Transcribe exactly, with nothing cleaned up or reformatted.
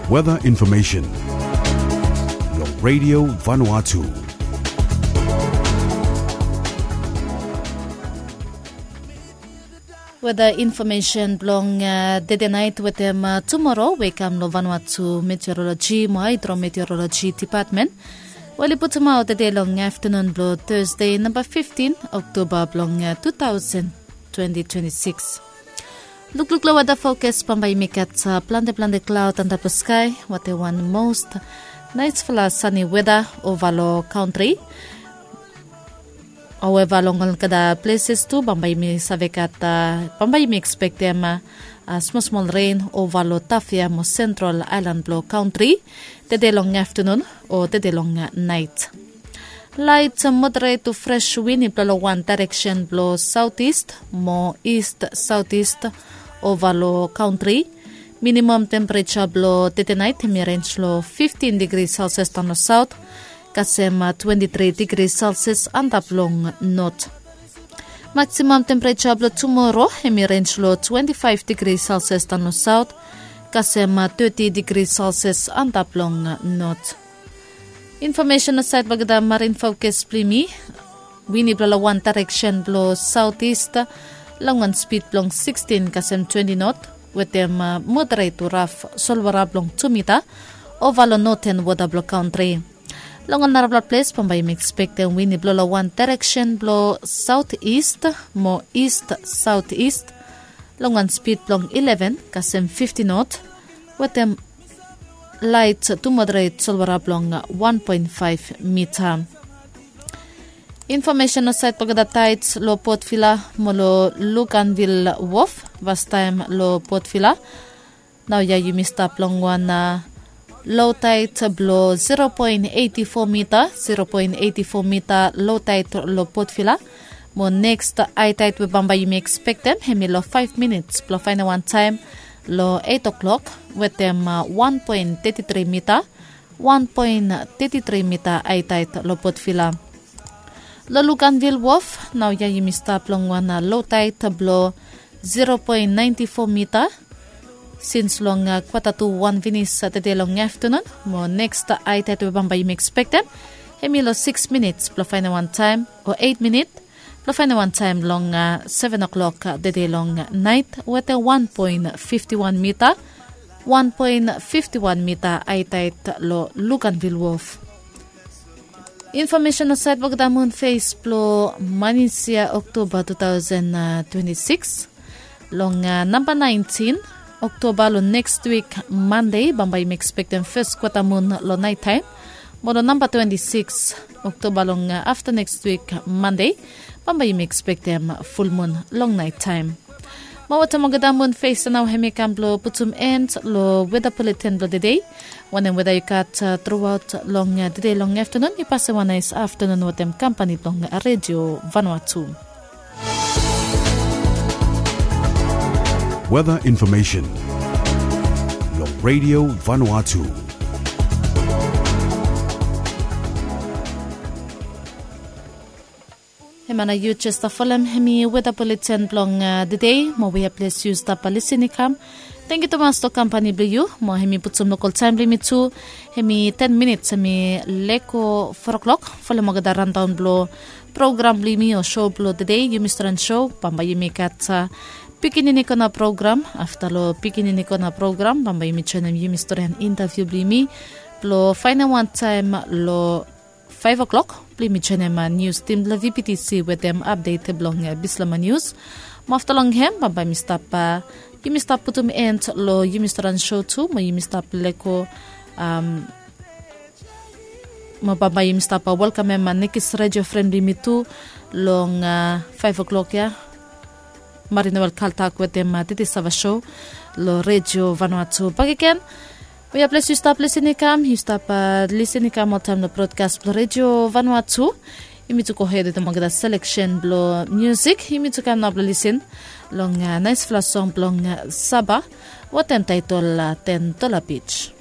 Weather information long Radio Vanuatu. Weather information blong uh, tede nait wetem uh, tumoro we i kam long Vanuatu Meteorology mo Hydrometeorology Department. Wel i putumaot tede long aftanun blong Thursday namba fiftin Oktoba blong uh, two thousand twenty twenty-six. Lukluk long weather forecast bambae yumi gat uh, plante plante cloud antap long sky, wate wan most naisfala sunny weather ova long country. However long olgeta places tu bambae yumi save gat uh, bambae yumi expectem uh, uh, small small rain ova long Tafea mo Central Island blong country tede long afternoon o tede long uh, night. Light moderate to fresh wind i blow long wan direction blong southeast mo east southeast ova long country. Minimum temperature blong tete night hemi range long fifteen degree Celsius down long south, kasem uh, twenty-three degree Celsius antap long north. Maximum temperature blong tomorrow hemi range long twenty-five degree Celsius down long south, kasem uh, thirty degree Celsius antap long uh, north. Information o sait blong olgeta marine forecast blong yumi. Wind i blow long wan direction blong southeast long wan speed blong sixteen kasem twenty knot wetem uh, moderate to rough solwara blong two mita ova long northern water blong country. Long ol narafala ples bambae yumi expectem wind i blow long wan direction blong southeast mo east southeast long wan speed blong eleven kasem fifty knot wetem light to moderate solwara blong one point five mita. Information o sait blong olgeta tides long Port Vila mo long Luganville Wharf. Vastaem long Port Vila naoia yumi stap long wan uh, low tide blong zero point eighty four mita, zero point eighty four mita low tide long Port Vila. Mo next high tide we bambae yumi expectem hemi long five minutes blong faenem wan taem long eight o'clock wetem uh, one point thirty three mita, one point thirty three mita high tide long Port Vila. Long Luganville Wharf naoia yumi stap long wan uh, low tide blong zero point ninety four mita. Sins long uh, kwata tu wan finis uh, tede long afternoon mo next uh, high tide we bambae yumi expectem hemi long six minutes blong faenem wan taem o eight minute blong faenem wan taem long uh, seven o'clock uh, tede long uh, night wetem one point fifty one mita, one point fifty one mita high tide long Luganville Wharf. Information o sait blong olgeta mun fes blong manis yia Oktoba two thousand twenty-six. Long uh, namba nineteen Oktoba long next week Monday bambae yumi expectem first kwata mun long night taem. Mo long namba twenty-six Oktoba long uh, afta next week Monday bambae yumi expectem full mun long night taem. Mo wetem olgeta mun fes nao hemi kam blong putum end long weather bulletin blong tede. Wanem weather yu gat uh, throughout long uh, tede long afternoon, yu pasem wan nais afternoon wetem kampani blong uh, Radio Vanuatu. Weather information long Radio Vanuatu. Hemia nao yu jes stap folem hemi weather bulletin blong uh, tede mo we ples yu stap uh, lisin i kam. Tangkiu tumas long kampani blong yu mo hemi putum lokol taem blong yumi tu. Hemi ten minits hemi lego four o'clock. Folem olgeta randaon blong program blong yumi o sou blong tede, yumi storian sou. Bambae yumi gat uh, pikinini kona program. Afta long pikinini kona program bambae yumi joenem yumi storian intaviu blong yumi blong faenem wan taem long five o'clock blong yumi joenem nius tim blong VPTC wetem apdet blong uh, Bislama Nius. Mo afta long hem bambae yumi stap uh, yumi stap putum end long yumi storian sou tu mo yumi stap lego um, mo bambae yumi stap uh, welkamem uh, nekis redio fren blong yumi tu long uh, five o'clock ya. Marie Noel Kaltak wetem uh, Titi Sava Show long Radio Vanuatu bakegen. We ples yu stap lisin i kam, yu stap uh, lisin i kam oltaem long brodkas blong Radio Vanuatu. Yumi tu gohed wetem olgeta seleksen blong musik. Yumi tu kam nao blong lisin long uh, naisfala song blong uh, Saba wetem taetol uh, Ten Dola Beach.